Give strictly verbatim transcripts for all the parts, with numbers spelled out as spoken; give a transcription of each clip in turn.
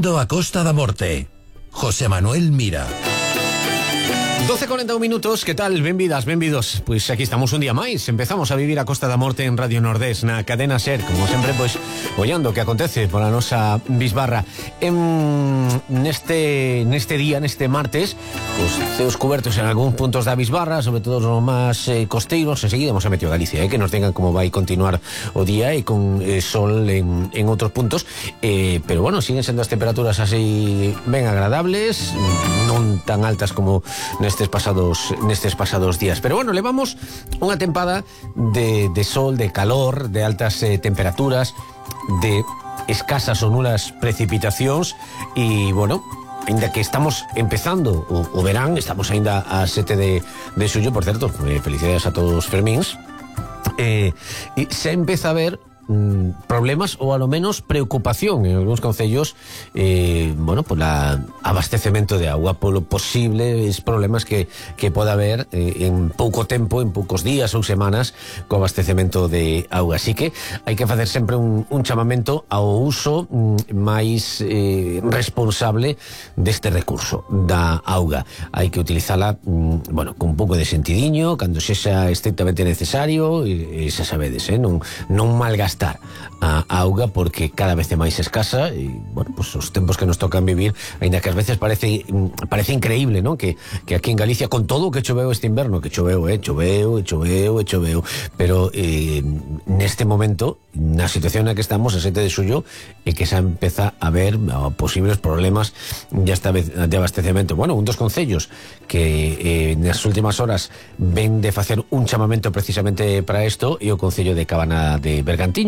Vivindo a Costa da Morte. José Manuel Mira. doce e cuarenta y un minutos, que tal? Benvidas, benvidos. Pois aquí estamos un día máis. Empezamos a vivir a Costa da Morte en Radio Nordés, na cadena SER, como sempre, pois, ollando o que acontece pola nosa bisbarra. En, neste, neste día, neste martes, os ceos cubertos en algúns puntos da bisbarra, sobre todo os máis eh, costeiros. Enseguida hemos a meteo Galicia, eh, que nos tengan como vai continuar o día e con eh, sol en, en outros puntos. Eh, pero bueno, siguen sendo as temperaturas así ben agradables, non tan altas como nestes pasados nestes pasados días, pero bueno, levamos unha tempada de, de sol, de calor, de altas eh, temperaturas, de escasas ou nulas precipitacións e bueno, ainda que estamos empezando o, o verán, estamos ainda a sete de, de xullo, por certo, eh, felicidades a todos os fermíns, eh, e se empeza a ver problemas ou a lo menos preocupación en algúns concellos, eh, bueno, por la abastecemento de agua, polo posibles problemas que, que poda haber eh, en pouco tempo, en poucos días ou semanas co abastecemento de auga. Así que hai que facer sempre un, un chamamento ao uso mm, máis eh, responsable deste recurso da auga. Hai que utilizala mm, bueno, con un pouco de sentidiño, cando sexa estrictamente necesario, e, e xa sabedes, eh, non, non malgastar a auga, porque cada vez é máis escasa e, bueno, pues os tempos que nos tocan vivir, aínda que ás veces parece parece increíble, ¿no? Que, que aquí en Galicia, con todo o que choveu este inverno, que choveu, eh, choveu, e choveu, e choveu, pero eh, neste momento, na situación na que estamos, a sete de xullo, e que xa empeza a haber oh, posibles problemas de, esta vez, de abastecemento. Bueno, un dos concellos que eh, nas últimas horas ven de facer un chamamento precisamente para isto e o concello de Cabana de Bergantiños.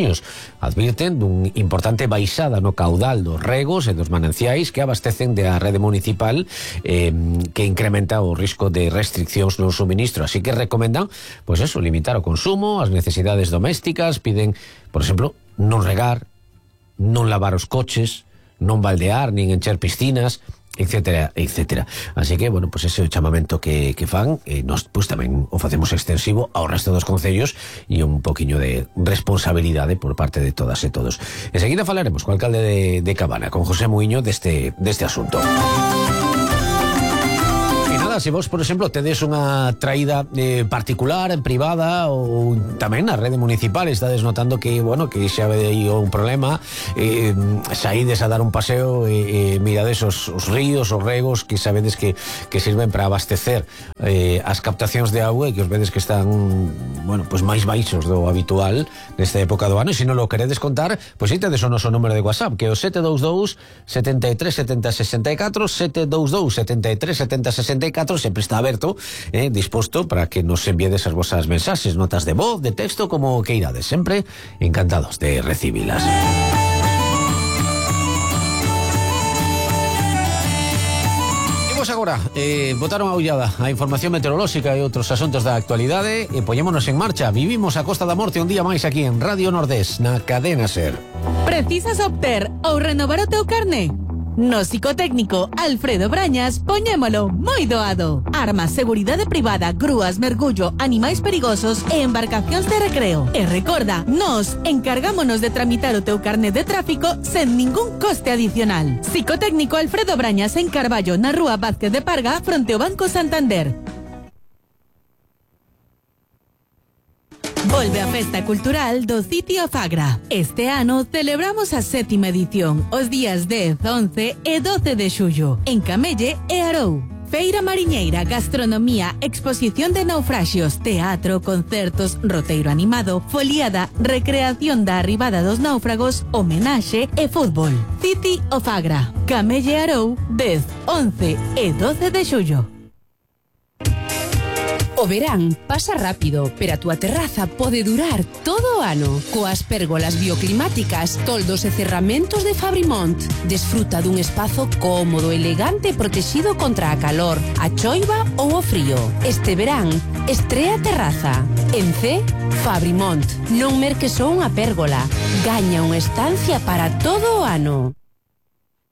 Advirten dun importante baixada no caudal dos regos e dos mananciais que abastecen da rede municipal, eh, que incrementa o risco de restriccións no suministro. Así que recomendan, pois eso, limitar o consumo, as necesidades domésticas. Piden, por exemplo, non regar, non lavar os coches, non baldear, nin encher piscinas, etcétera, etcétera. Así que, bueno, pues ese é o chamamento que, que fan, e nos, pues tamén o facemos extensivo ao resto dos concellos e un poquinho de responsabilidade por parte de todas e todos. Enseguida falaremos co alcalde de, de Cabana, con José Muiño, deste, deste asunto. Se vos, por exemplo, tedes unha traída eh, particular, privada ou tamén na rede municipal, estades notando que, bueno, que xa ve un problema, eh, saídes a dar un paseo e eh, mirades os, os ríos, os regos que sabedes que, que sirven para abastecer eh, as captacións de auga e que os vedes que están, bueno, pues máis baixos do habitual nesta época do ano. E se non lo queredes contar, pois pues, tedes o noso número de WhatsApp, que é o sete dous dous, sete tres sete zero seis catro, sete dous dous, sete tres sete zero seis catro. Sempre está aberto, eh, disposto para que nos enviades as vosas mensaxes, notas de voz, de texto, como que irades. Sempre encantados de recibilas. Imos agora eh, botaron a ollada a información meteorolóxica e outros asuntos da actualidade e poñémonos en marcha. Vivimos a Costa da Morte un día máis aquí en Radio Nordés, na cadena SER. Precisas obter ou renovar o teu carné? No psicotécnico Alfredo Brañas poñémolo moi doado. Armas, seguridade privada, grúas, mergullo, animais perigosos e embarcacións de recreo. E recorda, nos encargámonos de tramitar o teu carné de tráfico sen ningún coste adicional. Psicotécnico Alfredo Brañas en Carballo, na rúa Vázquez de Parga, fronte ao Banco Santander. Volve a Festa Cultural do Sitio Fagra. Este ano celebramos a sétima edición, os días dez, once e doce de xullo, en Camelle e Arou. Feira mariñeira, gastronomía, exposición de naufraxios, teatro, concertos, roteiro animado, foliada, recreación da arribada dos náufragos, homenaxe e fútbol. City o Fagra, Camelle e Arou, dez, once e doce de xullo. O verán pasa rápido, pero a túa terraza pode durar todo o ano. Coas pérgolas bioclimáticas, toldos e cerramentos de Fabrimont. Desfruta dun espazo cómodo, elegante e protegido contra a calor, a choiva ou o frío. Este verán, estrea terraza. En C, Fabrimont. Non merques só unha pérgola. Gaña unha estancia para todo o ano.